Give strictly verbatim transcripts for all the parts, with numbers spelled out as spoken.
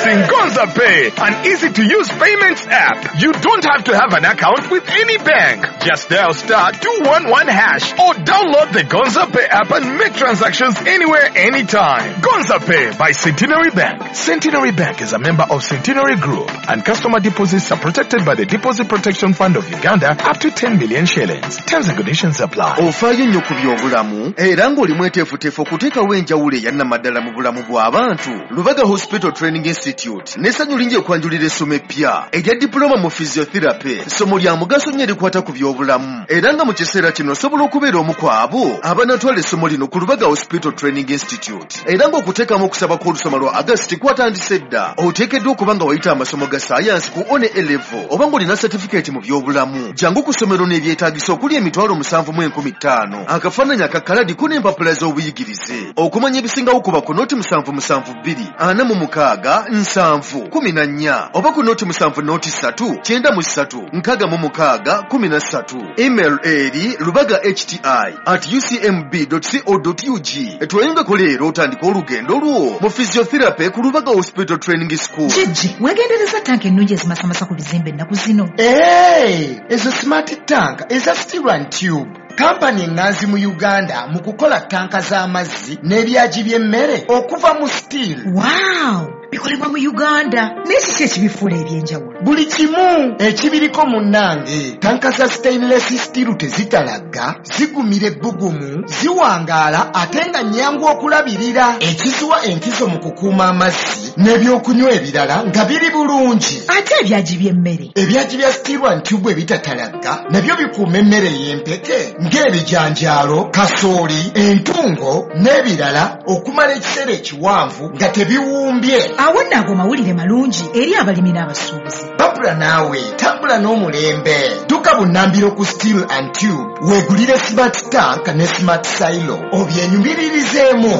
Introducing Gonza Pay, an easy-to-use payments app. You don't have to have an account with any bank. Just dial star two one one hash or download the Gonza Pay app and make transactions anywhere, anytime. Gonza Pay by Centenary Bank. Centenary Bank is a member of Centenary Group, and customer deposits are protected by the Deposit Protection Fund of Uganda up to ten million shillings. Terms and conditions apply. Ofaayo nnyo ku byobulamu era ng'oli mweteefuteefu okuteekawo enjawulo eyannamaddala mu bulamu bw'abantu. Lubaga Hospital Training Institute n'essanyu lingi ekwanjulira essomo eppya erya diploma mu physiotherapy. Ssomo lya mugaso nnyo erikwata ku byobulamu era nga mu kiseera kino osobola okubeera omu ku abo abanaatwala essomo lino ku Lubaga Hospital Training Institute, era ng'okuteekamu okusaba kw'olusoma lwa August kwatandise dda. Oteekeddwa okuba nga wayita amasomo ga sayansi ku one A level oba ng'olina certificate mu byobulamu. Jangu ku ssomero n'ebyetaagisa okuli emitwalo musanvu mu enkumi ttaano, akafaananyi akakaladi ko n'empapula z'obuyigirize. Okumanya ebisingawo kuba ku noti musanvu musanvu bbiri ana mu mukaaga nsanvu kumi na nnya oba ku noti musanvu noti ssatu kyenda mu ssatu nkaaga mu mukaaga kumi na ssatu. Email eri lubaga h t i at u c m b dot co dot u g. Tweyungeko leero otandika olugendo lwo mu physiotherapy ku Lubaga Hospital Training School. Jjajja, weegendereza tanka ennungi ezimasamasa ku bizimbe ennaku zino. Hey, ezo smart tank eza Steel and Tube, kampani eŋŋanzi mu Uganda mu kukola tanka z'amazzi n'ebyagi by'emmere okuva mu steel. Wow, bikolebwa mu Uganda, naye kiki ekibifuula ebyenjawulo? Buli kimu ekibiriko munnange. Tanka za stainless steel tezitalagga, zigumira ebbugumu, ziwangaala ate nga nnyangu okulabirira, ekiziwa enkizo mu kukuuma amazzi n'ebyokunywa ebirala nga biri bulungi. Ate ebyagi by'emmere? Ebyagi bya Steel and Tube ebitatalagga nabyo bikuuma emmere ey'empeke ng'ebijanjaalo, kasooli, entungo n'ebirala okumala ekiseera ekiwanvu nga tebiwumbye. Awo nno ago mawulire malungi eri abalimi n'abasuubuzi. Babula naawe tambula n'omulembe. Dduka bunnambiro ku Steel and Tube weegulire smart tank ne smart silo obyenyumiririzeemu.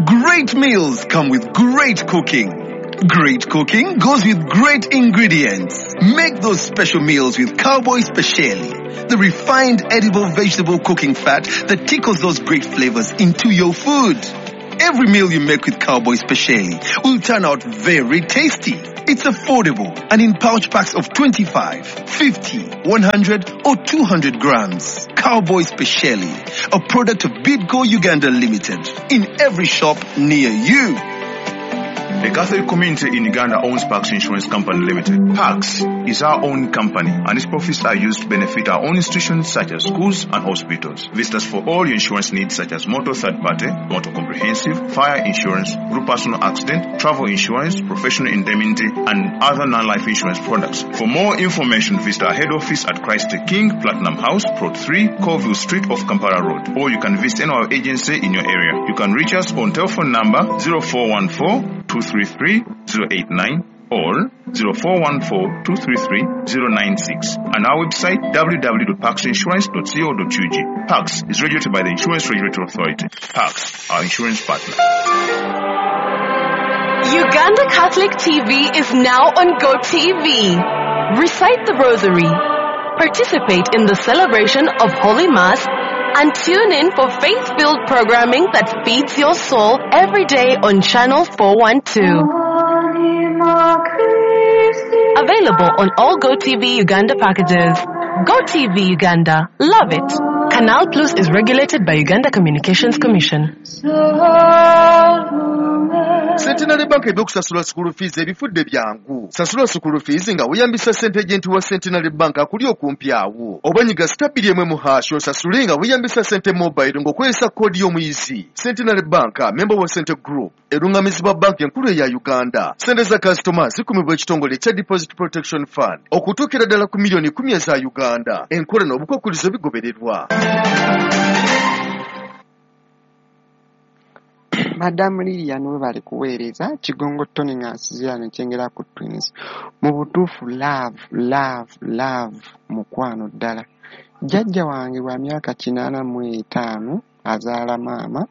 Great meals come with great cooking. Great cooking goes with great ingredients. Make those special meals with Cowboy Speciali, the refined edible vegetable cooking fat that tickles those great flavors into your food. Every meal you make with Cowboy Speciali will turn out very tasty. It's affordable and in pouch packs of twenty-five, fifty, one hundred or two hundred grams. Cowboy Speciali, a product of Bidco Uganda Limited, in every shop near you. The Catholic community in Uganda owns Pax Insurance Company Limited. Pax is our own company and its profits are used to benefit our own institutions such as schools and hospitals. Visit us for all your insurance needs such as motor third party, motor comprehensive, fire insurance, group personal accident, travel insurance, professional indemnity and other non-life insurance products. For more information, visit our head office at Christ the King, Platinum House, Plot three, Colville Street off Kampala Road. Or you can visit any of our agency in your area. You can reach us on telephone number zero four one four two three three zero eight nine or zero four one four two three three zero nine six and our website w w w dot paxinsurance dot co dot u g. Pax is regulated by the Insurance Regulatory Authority. Pax, our insurance partner. Uganda Catholic T V is now on GoTV. Recite the Rosary, participate in the celebration of Holy Mass, and tune in for faith-filled programming that feeds your soul every day on Channel four one two. Available on all GoTV Uganda packages. GoTV Uganda. Love it. Canal Plus is regulated by Uganda Communications Commission. Centenary Bank ebyokusasula school fees ebifudde byangu. Sasula school fees nga weeyambisa sente agent wa Centenary Bank akuli okumpi awo, oba nyiga star bbiri emu mu hash osasule nga weeyambisa sente mobile ng'okozesa koodi y'omuyizi. Centenary Bank, member wa Sente Group, erungamizibwa banka enkulu eya Uganda. Sente za kasitoma zikumibwa ekitongole ekya Deposit Protection Fund okutuukira ddala ku miliyoni kumi eza Uganda. Enkola n'obukwakkulizo bigobererwa. Madamu Lilian, webale kuweereza. Kigongo Tony nga nsinziira Kyengera ku Twins. Mu butuufu love, love, love mukwano ddala. Jjajja wange wa myaka kinaana mu etaano azaala maama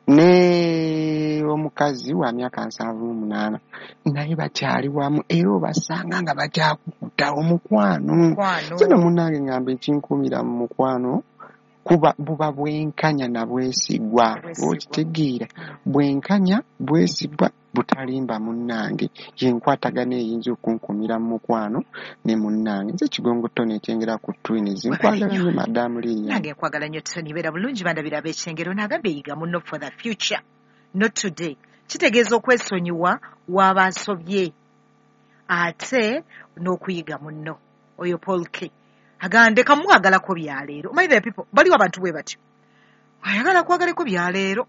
ne omukazi wa myaka nsanvu mu munaana, naye bakyali wamu era obasanga nga bakyakukuta omukwano. Kino munnange ngamba ekinkuumira mu mukwano kuba buba bwenkanya na bwesigwa. Okitegeera? Bwenkanya, bwesigwa. Butalimba munnange yenkwatagana eyinza okunkumira mu mukwano ne munnange. Nze Kigongo Tony Ekyengera ku Twins, nkwagala nnyo Madamu Lilian. Nange nkwagala nnyo Tony, beera bulungi bandabira ab'Ekyengero. Nagambye yiga munno for the future, not today. Kitegeeza okwesonyiwa waba asobye ate n'okuyiga munno. Oyo Paul K agamba ndeka mwagalako byaleero. My dear people, baliwo abantu bwe batyo, ayagala kwagaleko byaleero.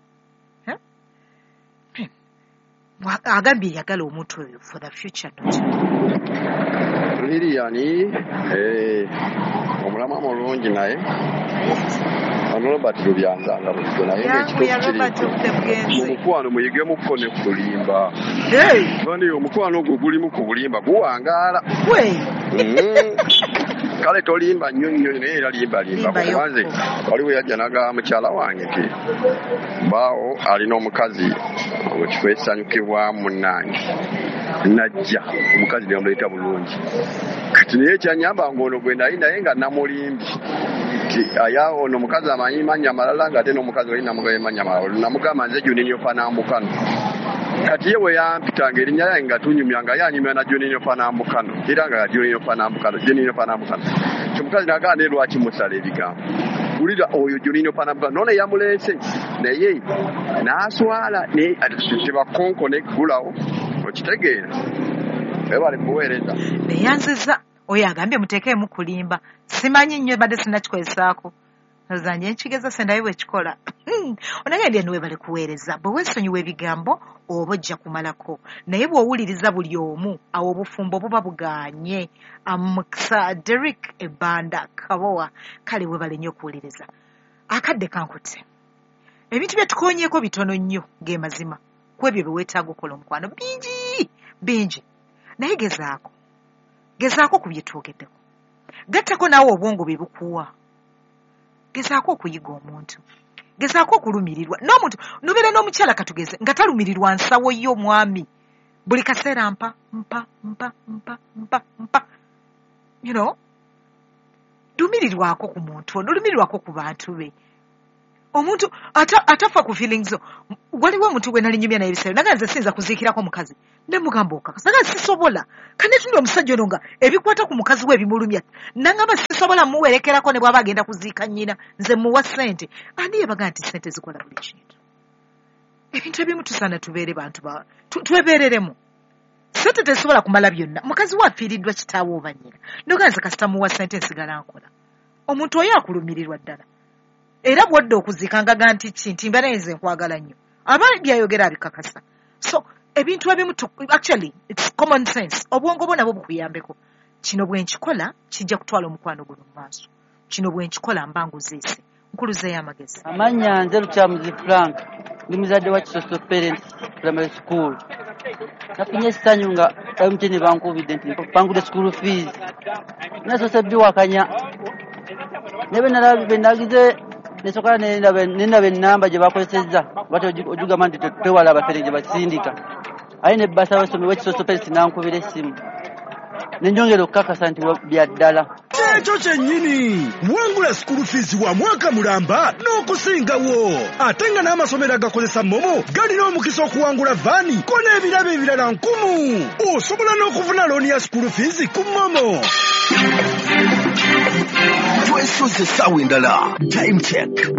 Agambye yagala omuntu oyo for the future, not today. Lilian, eh, omulama mulungi naye ono Robert Lubyanza nga bulijjo naye ng'ekituufu kiri mukwano muyigemuko ne kulimba. Bandi omukwano ogwo gulimu ku bulimba guwangaala. Kale tolimba nnyo nnyo naye era limba limba. Kubanze waliwo yajja n'agamba mukyala wange nti baawo alina omukazi mu kifo ekisanyukibwamu munnange, najja omukazi ne bamuleeta bulungi. Kati naye ekyanyamba ng'ono gwe nali naye nga namulimbye aya ono omukazi amanyi mannya malala ng'ate n'omukazi oli namugamba mannya malala, namugamba nze Juninho Panambukano. Kati ye bwe yampitanga erinnya lyange nga tunyumya nga yanyumya na Juninho Panambukano era nga Juninho Panambukano, Juninho Panambukano. Omukazi n'agamba naye lwaki musala ebigambo, wulira oyo Juninho Panambukano nono yamuleese naye n'aswala tebakonko neggulawo okitegeera webale kuweereza. Neyanziza oyo agambye muteekeemu kulimba, simanyi nnyo badde sinnakikozesaako nzanye nkigeza sendayo bwe kikola. Onagambye nti webale kuweereza, bwe weesonyiwa ebigambo oba ojja kumalako, naye bw'owuliriza buli omu awo obufumbo buba bugaanye. Amukisa Derrick Ebanda Kabowa, kale webale nnyo okuwuliriza. Akadde kankutte, ebintu bye tukoonyeeko bitono nnyo ge mazima ku ebyo bye weetaaga okukola omukwano bingi bingi, naye gezaako gezaako ku bye twogeddeko, gattako naawe obwongo bwe bukuwa, gezaako okuyiga omuntu, gezaako okulumirirwa n'omuntu. Nobeera n'omukyala katugeze nga talumirirwa nsawo yo omwami buli kaseera mpa mpa mpa mpa mpa mpa, you know, lumirirwako ku muntu ono, lumirirwako ku bantu be. Omuntu atafa ku feelings zo. Waliwo omuntu gwe nali nyumya naye ebiseera naga nze siyinza kuziikirako mukazi, ne mugamba okakasa nga sisobola kanetunula omusajja ono nga ebikwata ku mukazi we ebimulumya, nangamba sisobola muwerekerako ne bw'aba agenda kuziika nnyina nze muwa ssente. Ani yebaga nti ssente zikola buli kintu? Ebintu ebimu tusaana tubeere bantu twebeereremu. Ssente tezisobola kumala byonna. Mukazi we afiiriddwa kitaawe oba nnyina, noga nze kasita muwa ssente nsigala nkola. Omuntu oyo akulumirirwa ddala, era bw'odda okuziika ngaga nti ki nti mba naye nze nkwagala nnyo, aba byayogera abikakasa. So ebintu ebimu actually it's common sense, obwongo bwo nabwo bukuyambeko. Kino bwe nkikola kijja kutwala omukwano guno mu maaso, kino bwe nkikola mba nguziise. Nkuluzeeyo amagezi. Amannya nze Lukyamuzi Frank, ndi muzadde wa Kisoso Parents Primary School. Nafunye essanyu nga M T N bankubidde nti mpangudde school fees, nasoose biwakanya naye bwe nagize nesooka nendaba ennamba gye bakozesezza bati ogigamba nti twewala abafere gye basindika, aye ne bbasa w'essomero w'Ekisoso Parents n'ankubira essimu ne njongera okukakasa nti bya ddala. Ekyo kyennyini wangula school fees wa mwaka mulamba n'okusingawo, ate nga n'amasomero agakozesa MoMo galina omukisa okuwangula vaani ko n'ebirabo ebirala nkumu. Osobola n'okufuna looni ya school fees ku MoMo. Twesoze essaawa endala, time check.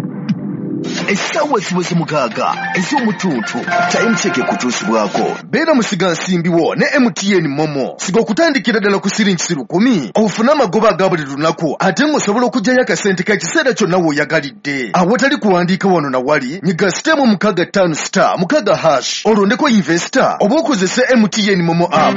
Essaawa ziweze mukaaga ez'omutuntu. Time check ekutuusibwako beera musigansimbi wo ne M T N MoMo. Siga okutandikira ddala ku siringi lukumi ofune amagoba aga buli lunaku, ate ng'osobola okuggyayo akasente k'ekiseera kyonna w'oyagalidde awatali kuwandiika wano na wali. Nyiga sitemu mukaaga ttaano star mukaaga hash olondeko investor oba okozese M T N MoMo app.